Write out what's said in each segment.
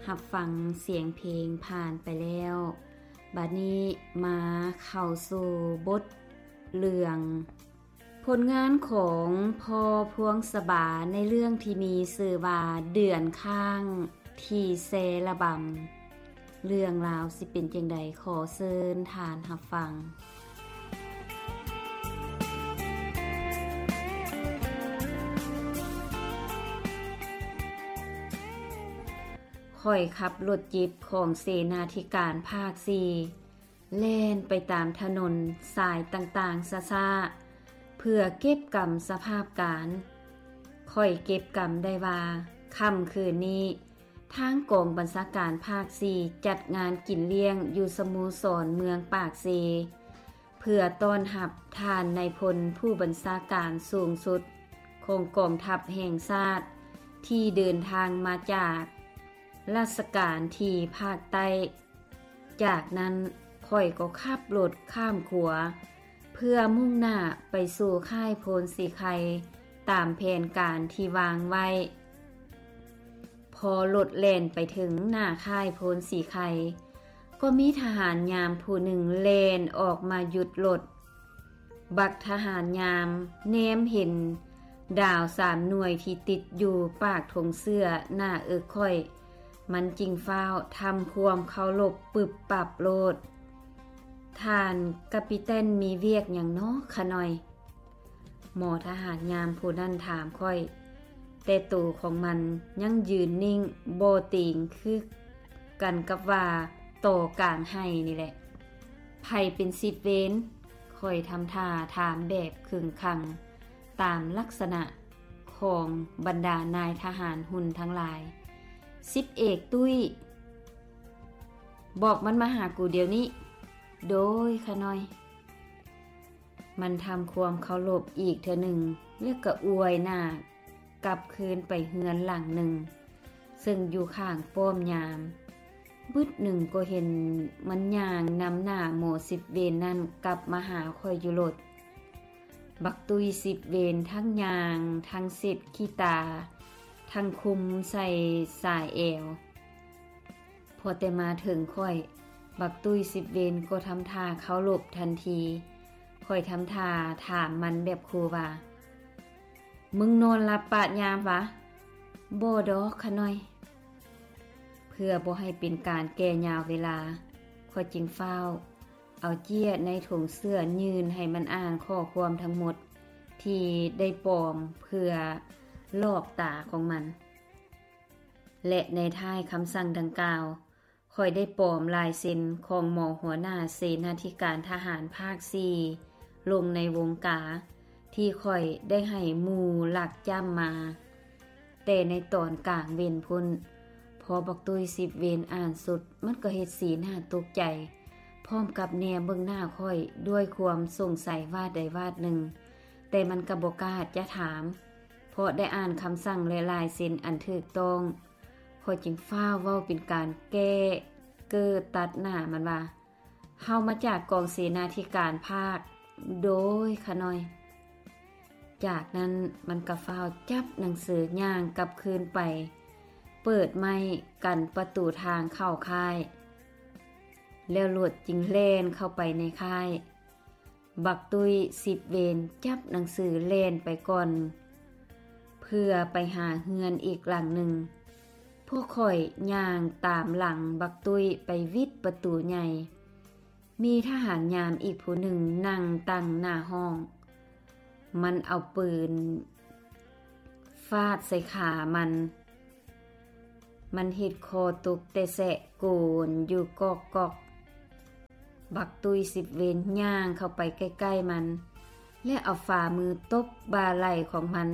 ຮັບຟັງສຽງເພງຜ່ານໄປແລ້ວ, ບັດນີ້ມາເຂົ້າສູ່ບົດເລື່ອງ ຜົນງານຂອງພໍ່ພວງສະບາໃນເລື່ອງທີ່ມີຊື່ວ່າ ເດືອນຄ້າງທີ່ແຊລະບຳ. ເລື່ອງລາວຊິເປັນຈັ່ງໃດ, ຂໍເຊີນທ່ານຮັບຟັງ. ຂ້ອຍຂັບລົດຈິບຂອງເສນາທິການພາກສີ່ ແລ່ນໄປຕາມຖະໜົນສາຍຕ່າງໆຊ້າໆ ເພື່ອເກັບກຳສະພາບການ. ຂ້ອຍເກັບກຳໄດ້ວ່າ ຄ່ຳຄືນນີ້ ທາງກອງບັນຊາການພາກສີ່ ຈັດງານກິນລ້ຽງຢູ່ສະໂມສອນເມືອງປາກເຊ ເພື່ອຕ້ອນຮັບທ່ານນາຍພົນຜູ້ບັນຊາການສູງສຸດຂອງກອງທັບແຫ່ງຊາດ ທີ່ເດີນທາງມາຈາກລາຊະການທີ່ພາກໃຕ້. ຈາກນັ້ນຂ້ອຍກໍຂັບລົດຂ້າມຂົວ ເພື່ອມຸ່ງໜ້າໄປສູ່ຄ້າຍໂພນສີໄຄ ຕາມແຜນການທີ່ວາງໄວ້. ພໍລົດແລ່ນໄປເຖິງໜ້າຄ້າຍໂພນສີໄຄ ກໍມີທະຫານຍາມຜູ້ໜຶ່ງແລ່ນອອກມາຢຸດລົດ. ບັກທະຫານຍາມແນມເຫັນດາວສາມໜ່ວຍທີ່ຕິດຢູ່ປາກຖົງເສື້ອໜ້າເອິກຂ້ອຍ, ມັນຈຶ່ງຟ້າວທຳຄວາມເຄົາລົບປຶບປັບໂລດ. ທ່ານກາປິແຕນມີວຽກຫຍັງນໍຂະນ້ອຍ? ໝໍທະຫານຍາມຜູ້ນັ້ນຖາມຂ້ອຍ, ແຕ່ໂຕຂອງມັນຍັງຢືນນິ່ງບໍ່ຕີງ ຄືກັນກັບວ່າຕໍ່ກາງໄຮ່ນີ້ແຫຼະ. ໃຜເປັນສິບເວນ? ຂ້ອຍທຳທ່າຖາມແບບເຄັ່ງຄັງ ຕາມລັກສະນະຂອງບັນດານາຍທະຫານຮຸ່ນທັງຫຼາຍ. ສິບເອກຕຸ້ຍ. ບອກມັນມາຫາກູດຽວນີ້. ໂດຍ ຂະນ້ອຍ. ມັນທຳຄວາມເຄົາລົບອີກເທື່ອໜຶ່ງ ແລ້ວກໍອວຍໜ້າກັບຄືນໄປເຮືອນຫຼັງໜຶ່ງ ເຊິ່ງຢູ່ຂ້າງປ້ອມຍາມ. ບຶດໜຶ່ງກໍເຫັນມັນຍ່າງນຳໜ້າໝໍສິບເວນນັ້ນກັບມາຫາຂ້ອຍຢູ່ໂລດ. ບັກຕຸ້ຍສິບເວນທັງຍ່າງ ທັງເຊັດຂີ້ຕາ ທັງຄຸມໃສ່ສາຍແອວ. ພໍແຕ່ມາເຖິງຂ້ອຍ, ບັກຕຸ້ຍສິບເວນກໍທຳທ່າເຄົາລົບທັນທີ. ຂ້ອຍທຳທ່າຖາມມັນແບບຂູ່ວ່າ, ມຶງນອນຫຼັບປະຍາມຫວາ? ບໍ່ດອກ ຂະນ້ອຍ. ເພື່ອບໍ່ໃຫ້ເປັນການແກ່ຍາວເວລາ, ຂ້ອຍຈຶ່ງຟ້າວເອົາເຈ້ຍໃນຖົງເສື້ອຍື່ນໃຫ້ມັນອ່ານຂໍ້ຄວາມທັງໝົດທີ່ໄດ້ປອມເພື່ອຫຼອກຕາຂອງມັນ. ແລະ ໃນທ້າຍຄຳສັ່ງດັ່ງກ່າວ, ຂ້ອຍໄດ້ປອມລາຍເຊັນຂອງໝໍຫົວໜ້າເສນາທິການທະຫານພາກສີ່ລົງໃນວົງກາທີ່ຂ້ອຍໄດ້ໃຫ້ໝູ່ລັກຈ້ຳມາ ແຕ່ໃນຕອນກາງເວັນພຸ້ນ. ພໍບັກຕຸ້ຍສິບເວນອ່ານສຸດ, ມັນກໍເຮັດສີໜ້າຕົກໃຈ ພ້ອມກັບແນມເບິ່ງໜ້າຂ້ອຍດ້ວຍຄວາມສົງໄສວາດໃດວາດໜຶ່ງ, ແຕ່ມັນກໍບໍ່ກ້າຈະຖາມ. ເພາະໄດ້ອ່ານຄຳສັ່ງ ແລະ ລາຍເຊັນອັນຖືກຕ້ອງ, ຂ້ອຍຈຶ່ງຟ້າວເວົ້າເປັນການແກ້ເກີຕັດໜ້າມັນວ່າ, ເຮົາມາຈາກກອງເສນາທິການພາກ. ໂດຍ ຂະນ້ອຍ. ຈາກນັ້ນມັນກໍຟ້າວຈັບໜັງສືຍ່າງກັບຄືນໄປ ເປີດໄມ້ກັນປະຕູທາງເຂົ້າຄ້າຍ, ແລ້ວລົດຈຶ່ງແລ່ນເຂົ້າໄປໃນຄ້າຍ. ບັກຕຸ້ຍສິບເວນຈັບໜັງສືແລ່ນໄປກ່ອນ ເພື່ອໄປຫາເຮືອນອີກຫຼັງໜຶ່ງ. ພວກຂ້ອຍຍ່າງຕາມຫຼັງບັກຕຸ້ຍໄປຫວິດປະຕູໃຫຍ່. ມີທະຫານຍາມອີກຜູ້ໜຶ່ງນັ່ງຕັງໜ້າຫ້ອງ. ມັນເອົາປືນຟາດໃສ່ຂາມັນ. ມັນເຮັດຄໍຕົກແຕ່ແຊະໂກນຢູ່ກອກໆ. ບັກຕຸ້ຍສິບເວນຍ່າງເຂົ້າໄປໃກ້ໆມັນ ແລະ ເອົາຝ່າມືຕົບບ່າໄຫຼ່ຂອງມັນ,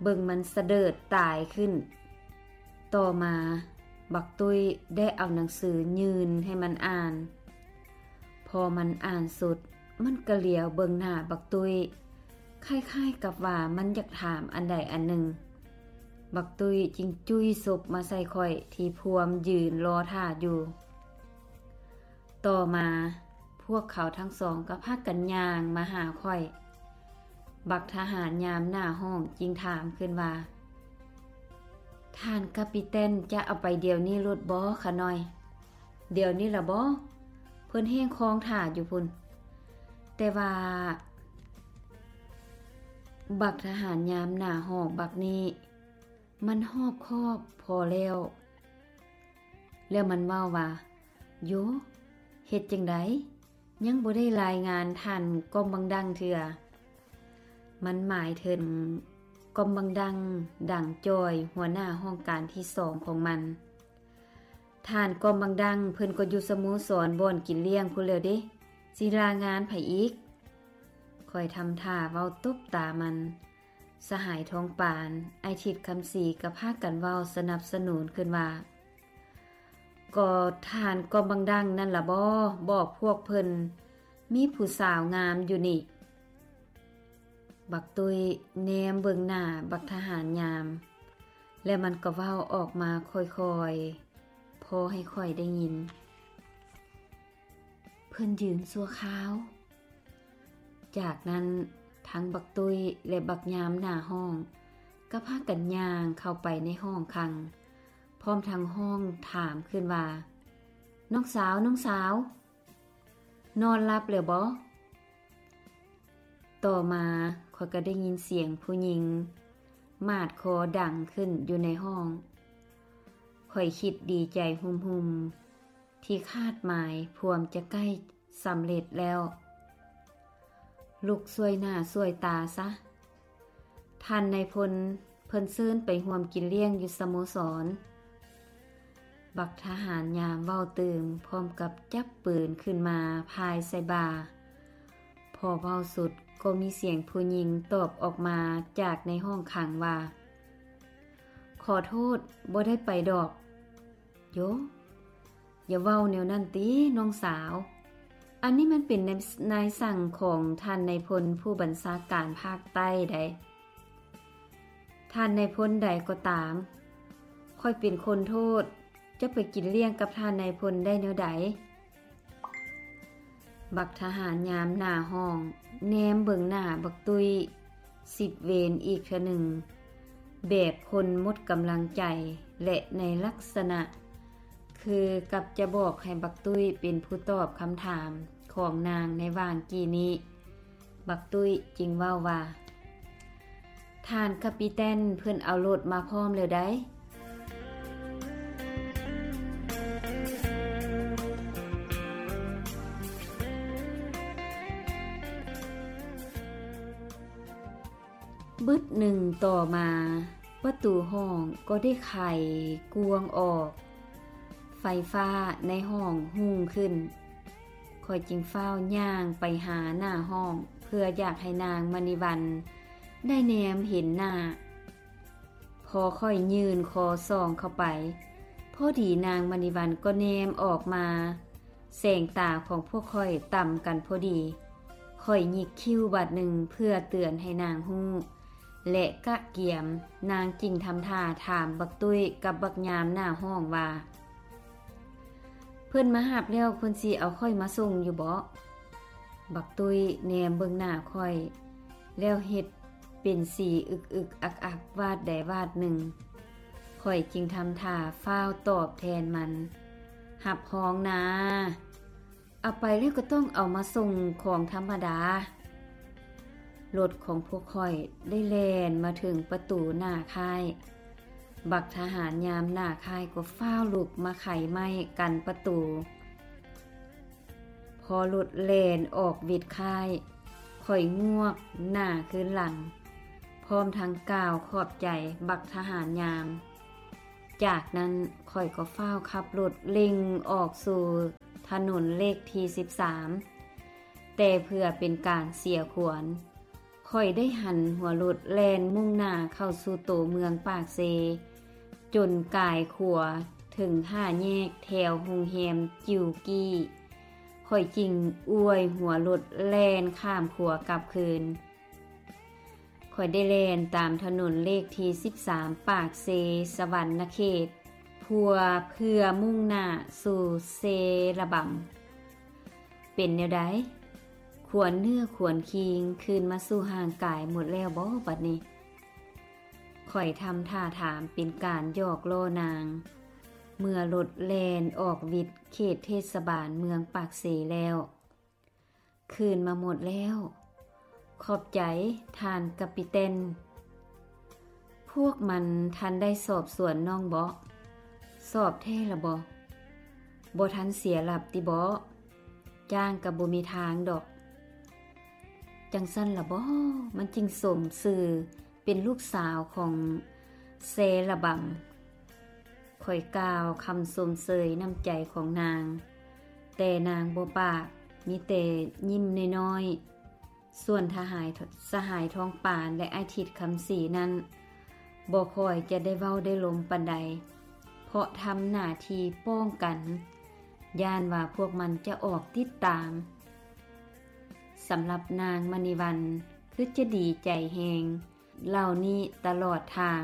ເບິ່ງມັນສະເດີດຕາຍຂຶ້ນ. ຕໍ່ມາ, ບັກຕຸ້ຍໄດ້ເອົາໜັງສືຍື່ນໃຫ້ມັນອ່ານ. ພໍມັນອ່ານສຸດ, ມັນກະຫຼຽວເບິ່ງໜ້າບັກຕຸ້ຍ, ຄ້າຍໆກັບວ່າມັນຢາກຖາມອັນໃດອັນໜຶ່ງ. ບັກຕຸ້ຍຈຶ່ງຈຸ້ຍສົບມາໃສ່ຂ້ອຍທີ່ພວມຢືນລໍຖ້າຢູ່. ຕໍ່ມາ, ພວກເຂົາທັງສອງກໍພາກັນຍ່າງມາຫາຂ້ອຍ. ບັກທະຫານຍາມໜ້າຫ້ອງຈຶ່ງຖາມຂຶ້ນວ່າ, ທ່ ທ່ານກາປີແຕນຈະເອົາໄປດຽວນີ້ໂລດບໍຂະນ້ອຍ? ດຽວນີ້ລະບໍ? ເພິ່ນແຮ່ງຄອງຖ້າຢູ່ພຸ້ນ. ແຕ່ວ່າບັກທະຫານຍາມໜ້າຫອກບັກນີ້ ມັນຮອບຄອບພໍແລ້ວ. ແລ້ວມັນເວົ້າວ່າ, ໂຢ, ເຮັດຈັ່ງໃດ? ຍັງບໍ່ໄດ້ລາຍງານທ່ານກ້ອມບັງດັງເທື່ອ. ມັນໝາຍເຖິງກ້ອມບັງດັງ ດັງຈ່ອຍ ຫົວໜ້າຫ້ອງການທີສອງຂອງມັນ. ທ່ານກ້ອມບັງດັງເພິ່ນກໍຢູ່ສະໂມສອນບ່ອນກິນລ້ຽງພຸ້ນແລ້ວເດ້, ຊິລາງານໃຜອີກ? ຂ້ອຍທຳທ່າເວົ້າຕົບຕາມັນ. ສະຫາຍທອງປານ, ອ້າຍທິດຄຳສີກໍພາກັນເວົ້າສະໜັບສະໜູນຂຶ້ນວ່າ, ກໍທ່ານກ້ອມບັງດັງນັ້ນລະບໍ ບອກພວກເພິ່ນມີຜູ້ສາວງາມຢູ່ນີ້. ບັກຕຸ້ຍແນມເບິ່ງໜ້າບັກທະຫານຍາມ ແລ້ວມັນກໍເວົ້າອອກມາຄ່ອຍໆ ພໍໃຫ້ຂ້ອຍໄດ້ຍິນ. ເພິ່ນຢືມຊົ່ວຄາວ. ຈາກນັ້ນທັງບັກຕຸ້ຍ ແລະ ບັກຍາມໜ້າຫ້ອງ ກໍພາກັນຍ່າງເຂົ້າໄປໃນຫ້ອງຂັງ ພ້ອມທັງຮ້ອງຖາມຂຶ້ນວ່າ, ນ້ອງສາວ, ນ້ອງສາວ, ນອນຫຼັບແລ້ວບໍ? ຕໍ່ມາຂ້ອຍກໍໄດ້ຍິນສຽງຜູ້ຍິງໝາດຄໍດັງຂຶ້ນຢູ່ໃນຫ້ອງ. ຂ້ອຍຄິດດີໃຈຮຸ່ມໆ ທີ່ຄາດໝາຍພວມຈະໃກ້ສຳເລັດແລ້ວ. ລຸກຊ່ວຍໜ້າຊ່ວຍຕາຊະ. ທ່ານນາຍພົນເພິ່ນເຊີນໄປຮ່ວມກິນລ້ຽງຢູ່ສະໂມສອນ. ບັກທະຫານຍາມເວົ້າຕື່ມ ພ້ອມກັບຈັບປືນຂຶ້ນມາພາຍໃສ່ບ່າ. ພໍເວົ້າສຸດກໍມີສຽງຜູ້ຍິງຕອບອອກມາຈາກໃນຫ້ອງຂັງວ່າ, ຂໍໂທດ, ບໍ່ໄດ້ໄປດອກ. ໂຢ, ຢ່າເວົ້າແນວນັ້ນຕິ, ນ້ອງສາວ. ອັນນີ້ມັນເປັນນາຍ ນາຍສັ່ງຂອງທ່ານນາຍພົນຜູ້ບັນຊາການພາກໃຕ້ໃດ໋. ທ່ານນາຍພົນໃດກໍຕາມ, ຂ້ອຍເປັນຄົນໂທດ, ຈະໄປກິນລ້ຽງກັບທ່ານນາຍພົນໄດ້ແນວໃດ? ບັກທະຫານຍາມໜ້າຫ້ອງແນມເບິ່ງໜ້າບັກຕຸ້ຍສິບເວນອີກເທື່ອໜຶ່ງ ແບບຄົນໝົດກຳລັງໃຈ ແລະ ໃນລັກສະນະຄືກັບຈະບອກໃຫ້ບັກຕຸ້ຍເປັນຜູ້ຕອບຄຳຖາມຂອງນາງໃນຫວ່າງກີ້ນີ້. ບັກຕຸ້ຍຈຶ່ງເວົ້າວ່າ, ທ່ານກາປີແຕນເພິ່ນເອົາລົດມາພ້ອມແລ້ວໃດ໋. ບຶດໜຶ່ງຕໍ່ມາ, ປະຕູຫ້ອງກໍໄດ້ໄຂກວາງອອກ. ໄຟຟ້າໃນຫ້ອງຮຸ່ງຂຶ້ນ. ຂ້ອຍຈຶ່ງຟ້າວຍ່າງໄປຫາໜ້າຫ້ອງ ເພື່ອຢາກໃຫ້ນາງມະນີວັນໄດ້ແນມເຫັນໜ້າ. ພໍຂ້ອຍຍື່ນຄໍສ່ອງເຂົ້າໄປ, ພໍດີນາງມະນີວັນກໍແນມອອກມາ. ແສງຕາຂອງພວກຂ້ອຍຕ່ຳກັນພໍດີ. ຂ້ອຍຫຍິກຄິ້ວບາດໜຶ່ງເພື່ອເຕືອນໃຫ້ນາງຮູ້ ແລະ ກະກຽມ. ນາງຈຶ່ງທຳທ່າຖາມບັກຕຸ້ຍກັບບັກຍາມໜ້າຫ້ອງວ່າ, ເພິ່ນມາຮັບແລ້ວເພິ່ນຊິເອົາຂ້ອຍມາສົ່ງຢູ່ບໍ? ບັກຕຸ້ຍແນມເບິ່ງໜ້າຂ້ອຍ ແລ້ວເຮັດເປັນສີອຶກໆ ອັກໆ ວາດໃດວາດໜຶ່ງ. ຂ້ອຍຈຶ່ງທຳທ່າຟ້າວຕອບແທນມັນ, ຮັບຮອງນາ. ເອົາໄປແລ້ວກໍຕ້ອງເອົາມາສົ່ງຂອງທຳມະດາ. ລົດຂອງພວກຂ້ອຍໄດ້ແລ່ນມາເຖິງປະຕູໜ້າຄ້າຍ. ບັກທະຫານຍາມໜ້າຄ້າຍກໍຟ້າວລຸກມາໄຂໄມ້ກັນປະຕູ. ພໍລົດແລ່ນອອກເວດຄ້າຍ, ຂ້ອຍງວກໜ້າຄືນຫຼັງ, ພ້ອມທັງກ່າວຂອບໃຈບັກທະຫານຍາມ. ຈາກນັ້ນຂ້ອຍກໍຟ້າວຂັບລົດເລັ່ງອອກສູ່ຖະໜົນເລກທີສິບສາມ, ແຕ່ເພື່ອເປັນການເສຍຂວັນ, ຂ້ອຍໄດ້ຫັນຫົວລົດແລ່ນມຸ່ງໜ້າເຂົ້າສູ່ໂຕເມືອງປາກເຊ, ຈົນກາຍຂວາເຖິງຫ້າແຍກແຖວໂຮງແຮມຈິວກີ້. ຂ້ອຍຈຶ່ງອວຍຫົວລົດແລ່ນຂ້າມຂົວກັບຄືນ. ຂ້ອຍໄດ້ແລ່ນຕາມຖະໜົນເລກທີສິບສາມ ປາກເຊ ສະຫວັນນະເຂດ ເພື່ອ ເພື່ອມຸ່ງໜ້າສູ່ເຊລະບຳ. ເປັນແນວໃດ? ຂວັນເນື້ອຂວັນຄີງຄືນມາສູ່ຮ່າງກາຍໝົດແລ້ວບໍບັດນີ້? ຂ້ອຍທຳທ່າຖາມເປັນການຫຍອກລໍ້ນາງ ເມື່ອລົດແລ່ນອອກວິດເຂດເທດສະບານເມືອງປາກເຊແລ້ວ. ຄືນມາໝົດແລ້ວ. ຂອບໃຈທ່ານກາປິແຕນ. ພວກມັນທັນໄດ້ສອບສວນນ້ອງເບາະ? ສອບແທ້ລະບໍ? ບໍ່ທັນເສຍຫຼັບຕິເບາະ? ຈ້າງກະບໍ່ມີທາງດອກ. ຈັ່ງຊັ້ນລະບໍ? ມັນຈຶ່ງສົມຊື່ເປັນລູກສາວຂອງແຊລະບຳ. ຂ້ອຍກ່າວຄຳຊົມເຊີຍນ້ຳໃຈຂອງນາງ, ແຕ່ນາງບໍ່ປາກ, ມີແຕ່ຍິ້ມນ້ອຍໆ. ສ່ວນທະຫາຍ ສະຫາຍທອງປານ ແລະ ອາທິດຄຳສີນັ້ນ ບໍ່ຄ່ອຍຈະໄດ້ເວົ້າໄດ້ລົມປານໃດ, ເພາະທຳໜ້າທີ່ປ້ອງກັນ, ຢ້ານວ່າພວກມັນຈະອອກຕິດຕາມ. ສຳລັບນາງມະນີວັນ ຄືຈະດີໃຈແຮງ ເຫຼົ່ານີ້ຕະຫຼອດທາງ.